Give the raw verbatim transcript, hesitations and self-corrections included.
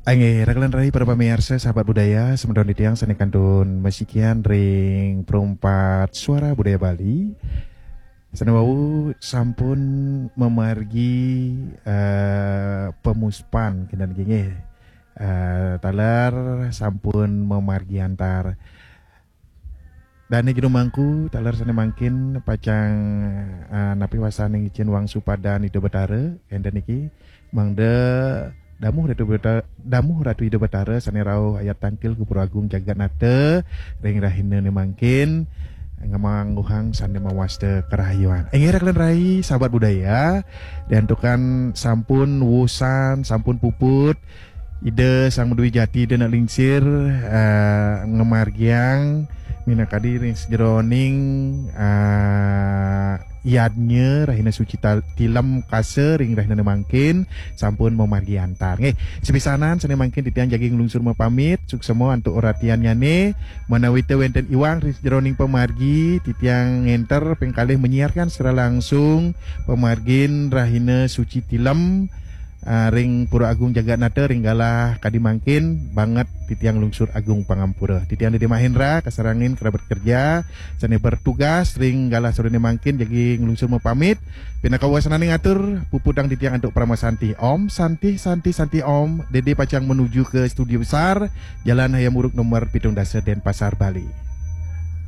Inggih, raka lan rai para pamiarsa, sahabat budaya, semeton titiang sane kantun masikian ring Perumpat Suara Budaya Bali. Sane wau sampun mamargi, eh, pemuspan, kinten nggih. Eh, taler sampun mamargi antar. Dane jero mangku, taler sane mangkin pacang, eh, napi wasane ngicen wangsu padan Ida Betara, enten niki, mangda damuh Ratu Beta-, damuh Ratu Ida Betara sane rauh ayat tangkil ka Pura Agung Jagatnata, ring rahinane mangkin, ngamangguhang sane mawasta karahayuan. Inggih raka lan rai, sahabat budaya, diantukan sampun wusan, sampun puput, Ida Sang Madwi Jati, Ida Anak Lingsir, eh, ngamargiang minakadi ring sajeroning, eh, yadnya Rahina Suci Tal-, Tilem Kasa ring rahinane mangkin sampun mamargi antar. Nggih, sepisanan sane mangkin titiang jagi nglungsur mapamit, suksema antuk ratiannyane, manawita wenten iwang ring sajeroning pamargi, titiang ngenter ping kalih menyiarkan secara langsung pamargin Rahina Suci Tilem, ah, ring Pura Agung Jagatnata ring galah kadi mangkin, banget titiang lungsur agung pangampura. Titiang Dede Mahendra, kasarengin kerabat kerja sane bertugas ring galah sorene mangkin jagi nglungsur mapamit. Pinaka wasananing atur, puputang titiang antuk parama santi. Om Santi, Santi, Santi Om. Dede pacang menuju ke studio besar, Jalan Hayam Wuruk nomor pitung dasa, Denpasar, Bali.